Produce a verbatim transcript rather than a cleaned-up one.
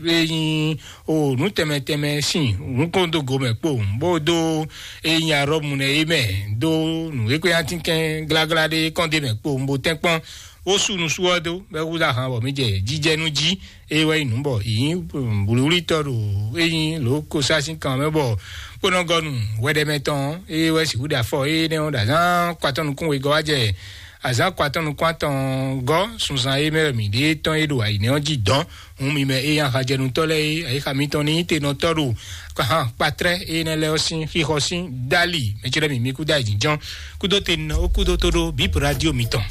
e nyí o nǔ tɛnmɛ tɛnmɛ sín nǔkɔndógo mɛ kpo, bó dó e nyí arɔ́mu nɛ é mɛ, dó nǔ e kó nyi atínkɛn gláglá ɖé kɔn ɖ'é mɛ kpo, bó tɛ́nkpɔ́n bó sú nusú ɔ́ dó, bɔ é húzú ahan bɔ mǐ jɛ jijɛnú jí. É wɛ nyí nǔ bɔ yǐ nyí wlǐwlítɔ́ ɖo é nyí lǒ kosá sín kan mɛ, bɔ kpónɔgɔ́nu hwɛɖɛmɛ tɔn é wɛ sixú ɖe afɔ énɛ́ ɔ́ ɖo azǎn kɔ atɔ́ nukún wegɔ́ wá jɛ azǎn kɔ atɔ́ nukún atɔn gɔ́ sunzan é mɛ wɛ mǐ ɖe tɔn é ɖo ayǐnɛ́ ɔ́ jí dɔn. Hun mi mɛ é nyí ahajɛnutɔ́ lɛ́ɛ é, ayixa mitɔn ní nyí tenɔtɔ́ ɖo kpatrɛ́ énɛ́ lɛ́ɛ ɔ́ sín xixɔ sín dali mɛ ce lɛ́ɛ mǐ mí kúdó ayǐjínjɔ́n kúdó tenɔ ó kúdó tó ɖó bǐ radio mitɔn.